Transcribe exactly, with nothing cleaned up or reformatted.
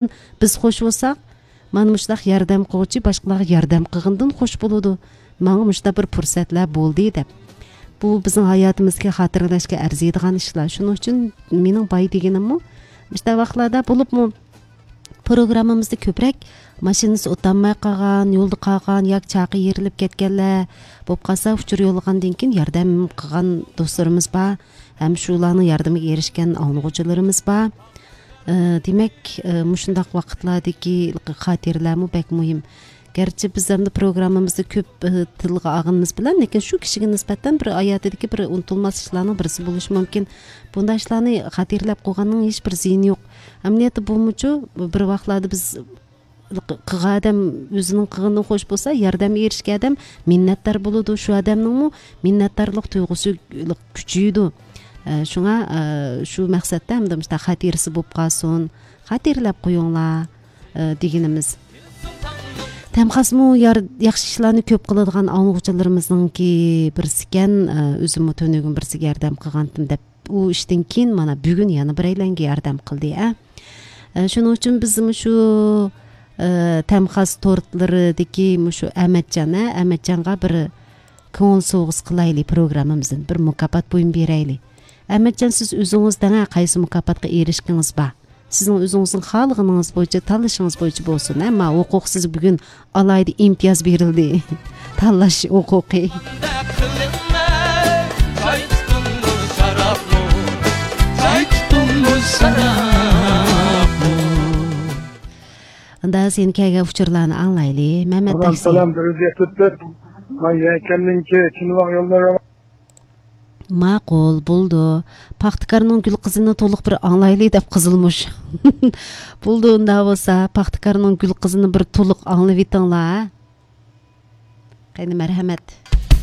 بىز خوش بولساق، مانا مۇشۇنداق ياردەم قىلغۇچى باشقىلارغا ياردەم قىلغىنىدىن خوش بولىدۇ. ماڭا مۇشۇنداق بىر پۇرسەتلەر بولدى دەپ. بۇ بىزنىڭ ھاياتىمىزدىكى خاتىرىلەشكە ئەرزىيدىغان ئىشلار. شۇنىڭ ئۈچۈن مېنىڭ باي دېگىنىممۇ، مۇشۇنداق ۋاقىتلاردا بولۇپمۇ پروگراممىمىزدا كۆپرەك ماشىنىسى ئولتۇرالماي قالغان، يولدا قالغان ياكى چاقى يېرىلىپ كەتكەنلەر بولۇپ قالسا، ئۇچۇر يوللىغاندىن كېيىن ياردەم قىلغان دوستلىرىمىز بار. ھەم شۇلارنىڭ ياردىمىگە ئېرىشكەن ئاڭلىغۇچىلىرىمىز بار. ئە، دېمەك، ئە، مۇشۇنداق ۋاقىتلاردىكى خاتىرىلەرمۇ بەك مۇھىم. گەرچە بىز ئەمدى پروگراممىمىزدا كۆپ، ئە، تىلغا ئالغىنىمىز بىلەن، لېكىن شۇ كىشىگە نىسبەتەن بىر ھاياتىدىكى بىر ئۇنتۇلماس ئىشلارنىڭ بىرسى بولۇشى مۇمكىن. بۇنداق ئىشلارنى خاتىرىلەپ قويغاننىڭ ھېچ بىر زىيىنى يوق. ئەمەلىيەتتە بۇمۇچۇ بىر ۋاقىتلاردا بىز قىلغان ئادەم ئۆزىنىڭ قىلغىنىدىن خوش بولسا، ياردەمگە ئېرىشكەن ئادەم مىننەتدار بولىدۇ. شۇ ئادەمنىڭمۇ مىننەتدارلىق تۇيغۇسى كۈچىيىدۇ. ئە، شۇڭا، ئە، شۇ مەقسەتتە ھەمدە مۇشۇنداق خاتىرىسى بولۇپ قالسۇن، خاتىرىلەپ قويۇڭلار، ئە، دېگىنىمىز. تەمخاسمۇ يار-، ياخشى ئىشلارنى كۆپ قىلىدىغان ئاڭلىغۇچىلىرىمىزنىڭكى بىرسىكەن، ئە، ئۆزۈممۇ تۈنۈگۈن بىرسىگە ياردەم قىلغانتىم دەپ، ئۇ ئىشتىن كېيىن مانا بۈگۈن يەنە بىرەيلەنگە ياردەم قىلدى، ئە. ئە، شۇنىڭ ئۈچۈن بىز مۇشۇ، ئە، تەمخاس تورتلىرىدىكى مۇشۇ ئەمەتجان، ئە، ئەمەتجانغا بىر كۆڭۈل سوۋغىسى قىلايلى، پروگراممىمىزدىن بىر مۇكاپات بۇيۇم بېرەيلى. ئەمەتجان، سىز ئۆزىڭىز دەڭە، قايسى مۇكاپاتقا ئېرىشكىڭىز بار؟ سىزنىڭ ئۆزىڭىزنىڭ خالىغىنىڭىز بويىچە، تاللىشىڭىز بويىچە بولسۇن، ھە؟ ما ھوقۇق سىزگە بۈگۈن ئالاھىدە ئىمتىياز بېرىلدى. تاللاش ھوقۇقى. ئۇندا سېنى كەلگەن ئۇچۇرلارنى ئاڭلايلى، مەمەت سالام، تاكسى. سالام، بىر يۈز يەتتە تۆت. مانا يەكەننىڭكى چىنۋاغ يوللىرى. ماقۇل، بولدى. پاختىكارنىڭ گۈل قىزىنى تولۇق بىر ئاڭلايلى دەپ قىزىلمۇش. بولدى، ئۇنداق بولسا، پاختىكارنىڭ گۈل قىزىنى بىر تولۇق ئاڭلىۋېتىڭلار. قېنى، مەرھەمەت.